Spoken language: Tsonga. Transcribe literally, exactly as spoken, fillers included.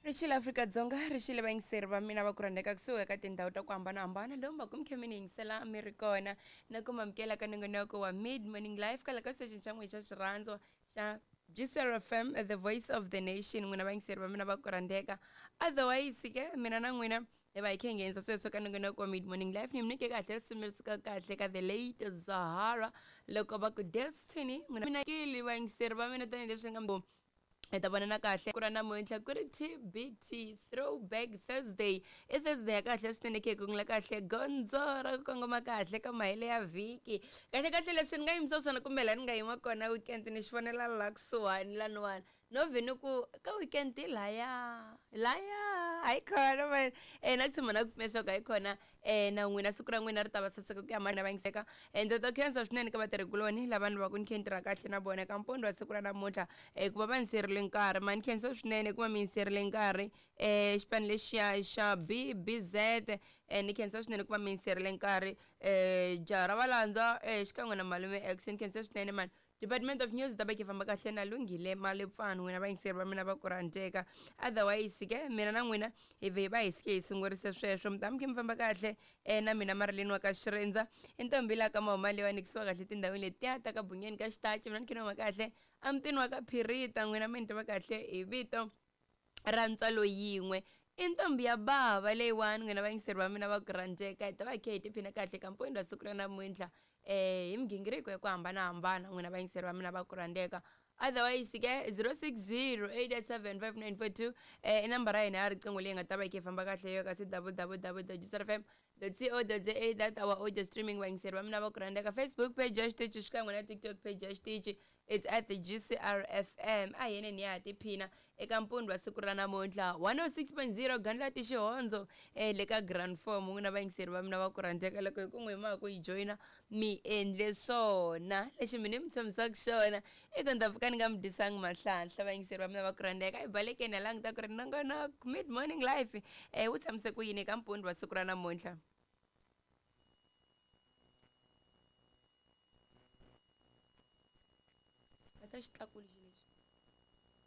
Rixile Afrika-Dzonga rixile vayingiseri va mina va ku rhandzeka kusuka ka tindhawu ta ku hambanahambana lomu va ku mi kha mi ni yingisela mi ri kona na ku mamukela ka nongonoko wa Mid Morning Life kwala ka station xa n'wina xa xirhandzo xa G C R F M, the voice of the nation. N'wina vayingiseri va mina va ku rhandzeka. Otherwise ke mina na n'wina hi va hi kha hi nghenisa sweswo ka nongonoko wa Mid Morning Life ni mi nyike kahle risimu leri suka kahle ka The Late Zahara loko va ku Destiny. N'wina mina kili vayingiseri va mina tanihileswi nga mi hi ta vonana kahle ku ra namuntlha ku ri T B T Throwback Thursday. I Thursday ya kahle swinene khe ku ngula kahle gondzo ra ku kongoma kahle ka mahele ya vhiki. Kahle kahle leswi ni nga yimisa swona kumbe laha ni nga yima kona weekend ni xi vonela laha kusuhani laniwani no vhe ni ku ka weekend hi laya laya hayi khona man. Eh na ku tshama na ku pfumela leswaku hayi khona eh na n'wina siku ra n'wina ri ta va saseka ku ya mahlweni va yingiseka. Eh ndzi ta khensa swinene ka vatirhikuloni lava ni va ku ni khe ni tirha kahle na vona ka mpundzu wa siku ra namuntlha eh ku va va ni siyerile nkarhi mani khensa swinene ku va mi yingiserile nkarhi eh xipano lexiya xa B B Z eh ni khensa swinene ku va mi yingiserile nkarhi eh jaha ra valandza eh xikan'we na malume X ni khensa swinene mani. Department of News ta va ki famba kahle na Lunghile Malepfani n'wina vayingiseri va mina va ku rhandzeka. Otherwise ke mina na n'wina hi vhe hi va hi sike hi sungurise sweswo mi ta mi khe mi famba kahle eh na mina Marilyn wa ka Xirindza i ntombi la ka Mahuma leyi wa nikisiwa kahle tindhawini letiya ta ka Bunyeni ka Xitachi mina ni khe ni huma kahle emutini wa ka Phirita n'wina mi ni tiva kahle hi vito ra ntswalo yin'we i ntombi ya bava leyiwani n'wina vayingiseri va mina va ku rhandzeka. Hi ta va hi khe hi tiphina kahle ka mpfundza siku ra namuntlha eh hi migingiriko ya ku hambanahambana n'wina vayingiseri va mina va ku rhandzeka. Otherwise ke zero six zero eight eight seven five nine four two eh i nambara ya hina ya riqingho leyi nga ta va yi kha yi famba kahle yo ka C W W W dot G C R F M dot C O dot Z A that our audio streaming vayingiseri va mina va ku rhandzeka. Facebook page ya xitichi xikan'we na TikTok page ya xitichi it's at the G C R F M. A hi yeneni ya ha tiphina eka mpundzu wa siku ra namuntlha one oh six point zero Gandlati Xihondzo eh le ka Grand Form n'wina vayingiseri va mina va ku rhandzeka loko hi ku n'wi ma ku yi joyina mi endle swona lexi mina mi tshembisaka xona i ku ndza pfuka ni nga mi dyisangi mahlanhla vayingiseri va mina va ku rhandzeka. Hi balekeni hi languta ku ri nongonoko Mid Morning Life eh wu tshamise ku yini eka mpundzu wa siku ra namuntlha. Asa xitlakuli xi lexi.